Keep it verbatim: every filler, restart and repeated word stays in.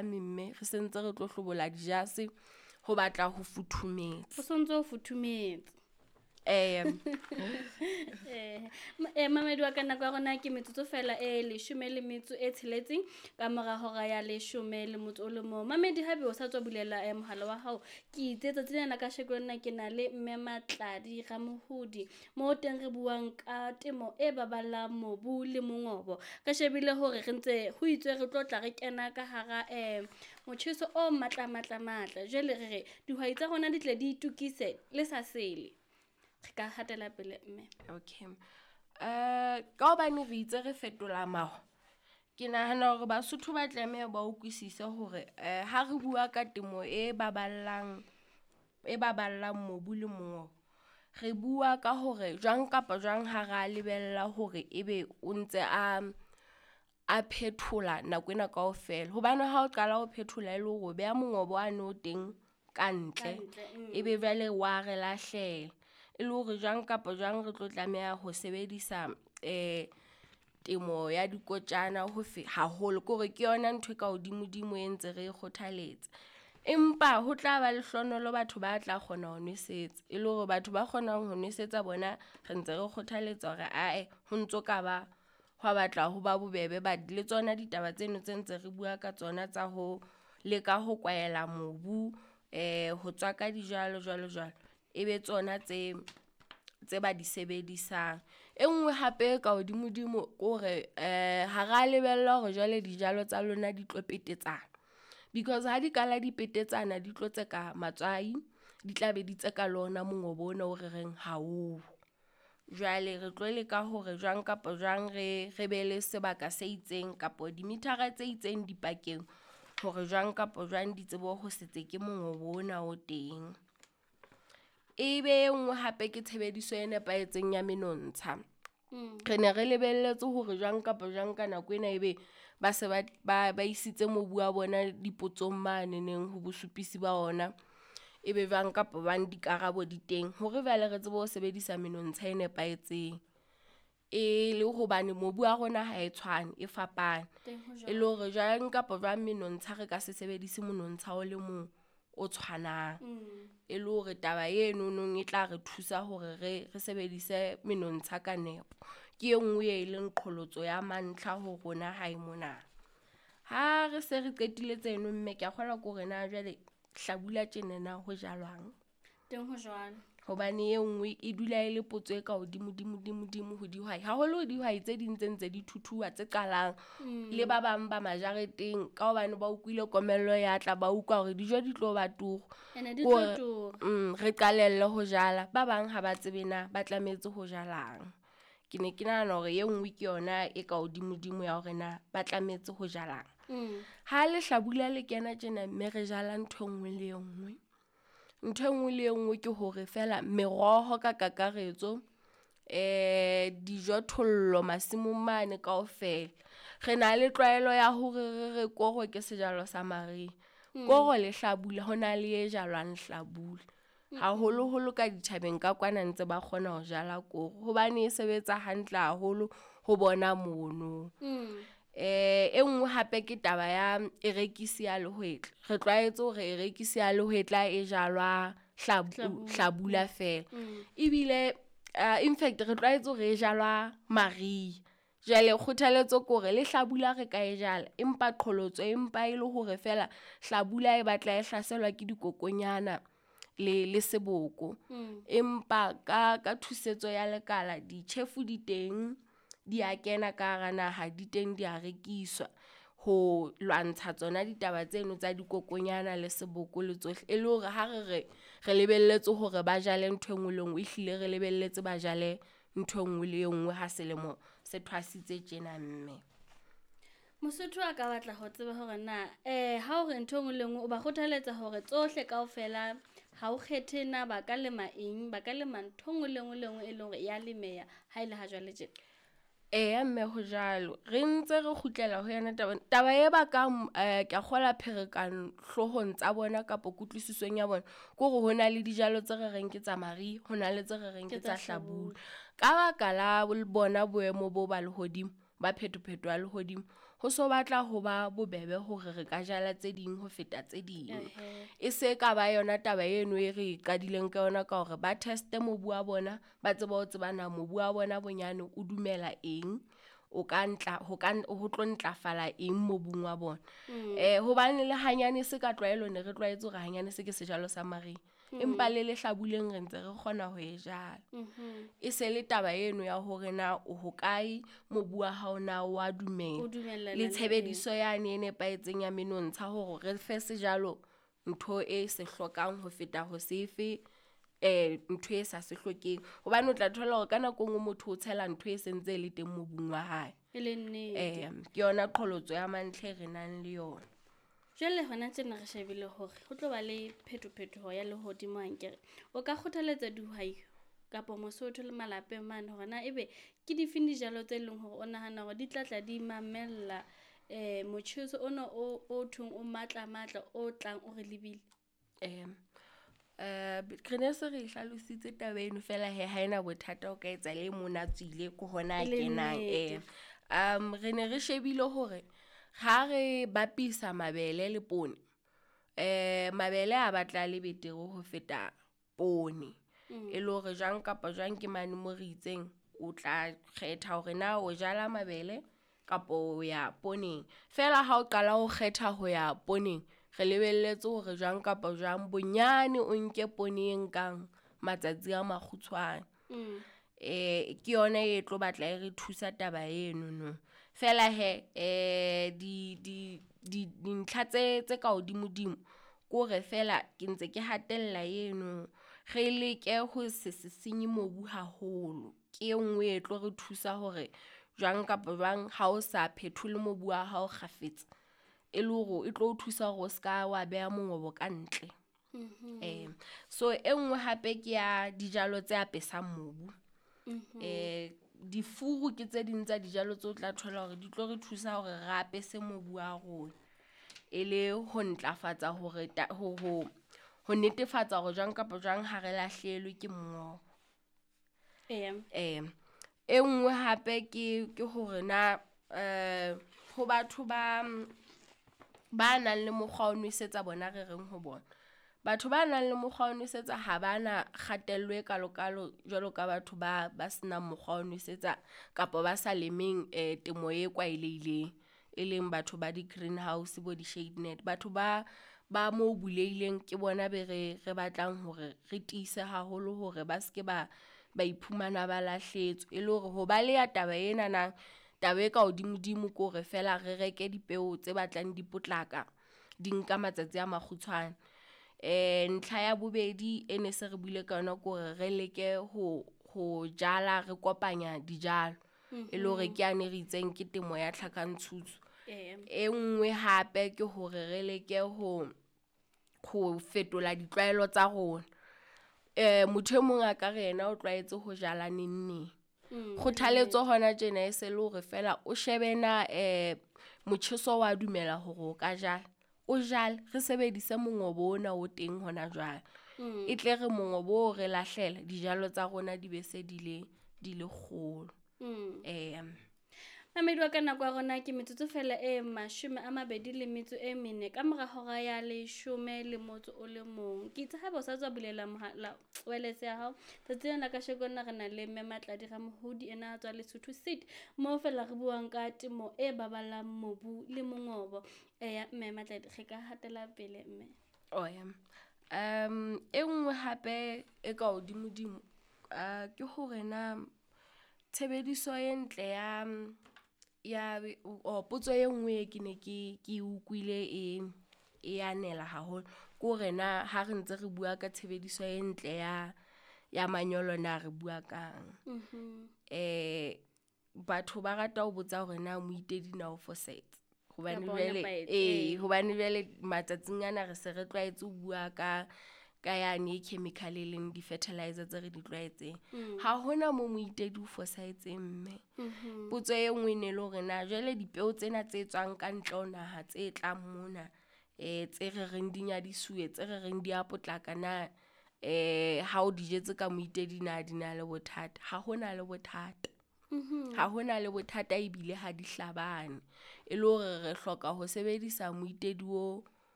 Mme re sentse re tlo hlobola dijase ho batla ho futhumetse. Ho sontso ho futhumetse. Eh eh mamedi wa ka, nako ya rona ke metsotso fela e leshome le metso e tsheletseng ka mora hora ya leshome le motso o le mong. Mamedi, haebe o sa tswa bulela eh, mohala wa hao, ke itse tsatsi lena la kasheko lena ke na le mme Matladi Ramohodi, mo teng re buang ka temo e baballang mobu le mongobo. Re shebile hore re ntse ho itswe re tlo tla re kena ka hara eh motjheso o matla matla matla. Jwale re re dihwai tsa rona di tle di itukise le sa sele. Re ka hatela pele mme. Okay. Eh ka hobane re itse re fetola maho, ke nahana hore Basotho ba tlameha ba utlwisise hore eh ha re bua ka temo e baballang e baballang mobu le mongobo, re bua ka hore jwang kapa jwang ha ra lebella hore ebe o ntse a a phethola nako ena kaofela. Hobane ha o qala ho phethola e le hore o beha mongobo wane o teng ka ntle, ebe jwale wa re lahlela. E le hore jwang kapa jwang re tlo tlameha ho sebedisa eh temo ya dikotjana ho fe haholo, ke hore ke yona ntho e ka hodimo-dimo e ntse re kgothaletsa. Empa ho tla ba lehlohonolo batho ba tla kgona ho nwesetsa, e le hore batho ba kgonang ho nwesetsa bona re ntse re kgothaletsa hore ae ho ntso ka ba hwa batla ho ba bobebe. But le tsona ditaba tseno tse ntse re bua ka tsona tsa ho leka ho kwaela mobu, eh ho tswaka dijalo jwalo jwalo, e be tsona tse tse ba di sebedisang. E nngwe hape ka hodimo-dimo ke hore eh ha ra lebella hore jwale dijalo tsa lona di tlo petetsana. Because ha di kala di petetsana, di tlo tseka matswai, di tla be di tseka le ona mongobo ona o re reng ha o. Jwale re tlo leka hore jwang kapa jwang re re be le sebaka se itseng kapo dimithara tse itseng dipakeng hore jwang kapa jwang di tsebe ho se tseke mongobo ona o teng. E be e nngwe hape ke tshebediso e nepahetseng ya menontsha. Re ne re lebelletse hore jwang kapa jwang ka nako ena ebe ba se ba ba ba isitse mobu wa bona dipotsong mane neng ho bosupisi ba ona. Ebe jwang kapa jwang dikarabo di teng hore jwale re tsebe ho sebedisa menontsha e nepahetseng. E le hobane mobu wa rona ha e tshwane, e fapane. E le hore jwang kapa jwang menontsha re ka se sebedise monontsha o le mong o tshwanang. E le hore taba eno nong e tla re thusa hore re re sebedise menontsha ka nepo. Ke e nngwe e leng qholotso ya mantlha ho rona hae mona. Ha re se re qetile tseno mme ke a kgolwa ke hore na jwale hlabula tjena na ho jalwang. Teng ho jwalo. Hobane e nngwe e dula e le potso e ka hodimo dimo dimo dimo ho dihwai. Haholo dihwai tse ding tse ntse di thuthuha tse qalang le ba bang ba majareteng ka hobane ba utlwile komello ya tla, ba utlwa hore dijo di tlo ba turu. Ene di tlo tura. Mm, re qalelle ho jala. Ba bang ha ba tsebe na ba tlametse ho jalang. Ke ne ke nahana hore e nngwe ke yona e ka hodimo-dimo ya hore na ba tlametse ho jalang. Mm. Ha lehlabula le kena tjena mme re jala ntho e nngwe le e nngwe. Ntho e nngwe le e nngwe ke hore feela meroho ka kakaretso, eh dijothollo masimong mane kaofela. Re na le tlwaelo ya hore re re koro ke sejalo sa mariha. Koro le hlabula hona le e jalwang hlabula. Haholoholo ka ditjhabeng ka kwana ntse ba kgona ho jala koro hobane e sebetsa hantle haholo ho bona mono. Mm. Eh e nngwe hape ke taba ya erekisi ya lehwetla. Re tlwaetse hore erekisi ya lehwetla e jalwa hlabu, hlabula feela. Mm. Ebile uh, in fact re tlwaetse hore e jalwa mariha. Jwale kgothaletso ke hore le hlabula re ka e jala, empa qholotso empa e le hore feela hlabula e batla e hlaselwa ke dikokonyana le le seboko. Mm. Empa ka ka thusetso ya lekala ditjhefu di teng, di a kena ka hara naha, di teng di a rekiswa ho lwantsha tsona ditaba tseno tsa dikokonyana le seboko le tsohle. E le hore ha re re re lebelletse hore ba jale ntho e nngwe le nngwe, ehlile re lebelletse ba jale ntho e nngwe le e nngwe ha selemo se thwasitse tjena mme. Mosotho a ka batla ho tseba hore na eh ha o re ntho e nngwe le nngwe o ba kgothaletsa hore tsohle kaofela ha o kgethe na ba ka lema eng, ba ka lema ntho e nngwe le nngwe le nngwe e leng hore ya lemeha ha e le ha jwale tjena. Eya mme ho jwalo. Re ntse re kgutlela ho yona taba. Taba e bakang eh ke a kgolwa pherekano hloohong tsa bona kapa kutlwisisong ya bona, ke hore ho na le dijalo tse re reng ke tsa mariha, ho na le tse re reng ke tsa hlabula. Ka baka la bona boemo bo ba lehodimo, ba phetopheto ya lehodimo, Ho so batla ho ba bobebe hore re ka jala tse ding ho feta tse ding. E se ka ba yona taba eno e re qadileng ka yona ka hore ba test-e mobu wa bona, ba tsebe ho tseba na mobu wa bona bonyane o dumela eng, o ka ntla ho ka ho tlo ntlafala eng mobung wa bona. Eh hobane le hanyane se ka tlwaelo ne re tlwaetse hore hanyane se ke sejalo sa mariha. Empa le lehlabuleng re ntse re kgona ho e jala. E se le taba eno ya hore na o hokae, mobu wa hao na wa dumela. O dumellana Le le eng? tshebediso yane e nepahetseng ya menontsha hore re fe sejalo ntho e se hlokang ho feta ho sefe eh ntho e sa se hlokeng. Hobane o tla thola hore ka nako e nngwe motho o tshela ntho e sentse e le teng mobung wa hae. E le nnete. Eh ke yona qholotso ya mantlha e re nang le yona. Jwale hona tjena re shebile hore ho tlo ba le phetophetoho ya lehodimo ankere. O ka kgothaletsa dihwai kapa Mosotho le malapeng mane hore na ebe ke difeng dijalo tse leng hore o nahana hore di tla tla di mamella eh motjheso ona o o thweng o matla matla o tlang o re lebile? Eh eh re ne se re hlalositse taba eno fela he ha ena bothata o ka etsa le mona tswile ke hona E le kenang. nnete. Eh um re ne re shebile hore ha re bapisa mabele le poone, eh mabele a batla le betere ho feta poone. Mm. E le hore jwang kapa jwang ke mane mo re itseng o tla kgetha hore na o jala mabele kapa o ya pooneng. Feela ha o qala ho kgetha ho ya pooneng, re lebelletse hore jwang kapa jwang bonyane o nke poone e nkang matsatsi a makgutshwane. Mm. Eh ke yona e tlo batla e re thusa taba eno no. Feela he eh di di di dintlha tse tse ka hodimodimo ke hore feela ke ntse ke hatella eno re leke ho se se senye mobu haholo. Ke e nngwe e tlo re thusa hore jwang kapa jwang ha o sa phethole mobu wa hao kgafetsa, e le hore e tlo o thusa hore o ska wa beha mongobo ka ntle. Mhm. Eh so e nngwe hape ke ya dijalo tse apesang mobu. Mhm. Eh difuru ke tse ding tsa dijalo tseo tla thola hore di tlo re thusa hore re apese mobu wa rona. E le ho ntlafatsa hore ta, ho, ho, ho netefatsa hore jwang kapa jwang ha re lahlehelwe ke mongobo. Eya. Eh e nngwe hape ke, ke hore na eh ho batho ba, ba nang le mokgwa wa ho nwesetsa bona re reng ho bona. Batho ba nang le mokgwa wa ho nwesetsa ha ba na kgatello e kalokalo jwalo ka batho ba, ba senang mokgwa wa ho nwesetsa kapa ba sa lemeng eh temo e tlwaelehileng, e leng batho ba di-greenhouse bo di-shade net. Batho ba, ba mo bulehileng ke bona be re, re batlang hore re tiise haholo hore ba ske ba, ba iphumana ba lahlehetswe. E le hore ho baleha taba ena na, taba e ka hodimodimo ke hore feela re reke dipeo tse batlang di potlaka, di nka matsatsi a makgutshwane. Eh ntlha ya bobedi e ne se re buile ka yona ke hore re leke ho, ho jala re kopanya dijalo. E le hore ke yane re itseng ke temo ya tlhakantshutsu. Eya. E nngwe hape ke hore re leke ho, ho fetola ditlwaelo tsa rona. Eh motho e mong a ka re yena o tlwaetse ho jala neng neng. Mm, Kgothaletso hona tjena e se le hore feela o shebe na eh motjheso wa dumela hore o ka jala. O jale, re sebedise mongobo ona o teng hona jwale. Mm. E tle re mongobo o re lahlela, dijalo tsa rona di be se di le, di le kgolo. Mm. Eh Mamedi wa ka, nako ya rona ke metsotso fela e mashome a mabedi le metso e mene ka mora hora ya leshome le motso o le mong. Ke itse haeba o sa tswa bulela mohala wireless ya hao, tsatsi lena la kasheko lena re na le Mme Matladi Ramohodi, ena a tswa Lesotho Seed, moo fela re buang ka temo e baballang mobu le mongobo. Eya, Mme Matladi, re ka hatela pele mme. Oh ya. Um e nngwe hape e ka hodimodimo, uh, ke hore na tshebediso e ntle ya, ya, o, potso e nngwe e ke ne ke, ke utlwile e, e anela haholo, ke hore na ha re ntse re bua ka tshebediso e ntle ya, ya manyolo na re bua kang. Mhm. Eh batho ba rata ho botsa hore na moitedi na o fosahetse. Hobane Kapa o jwale, nepahetse, ee, ee. hobane jwale matsatsing ana re se re tlwaetse ho bua ka, ka yane e chemical e leng di-fertilizer tse re di tlwaetseng. Mm. Ha hona mo moitedi o fosahetseng mme. Mhm. Potso e nngwe e ne le hore na jwale dipeo tsena tse tswang ka ntle ho naha tse tlang mona, eh tse re reng di nyadisuwe, tse re reng di a potlaka na, eh ha o di jetse ka moitedi na di na le bothata? Ha hona le bothata. Ha hona le bothata ebile ha di hlabane. E le hore re hloka ho sebedisa moitedi o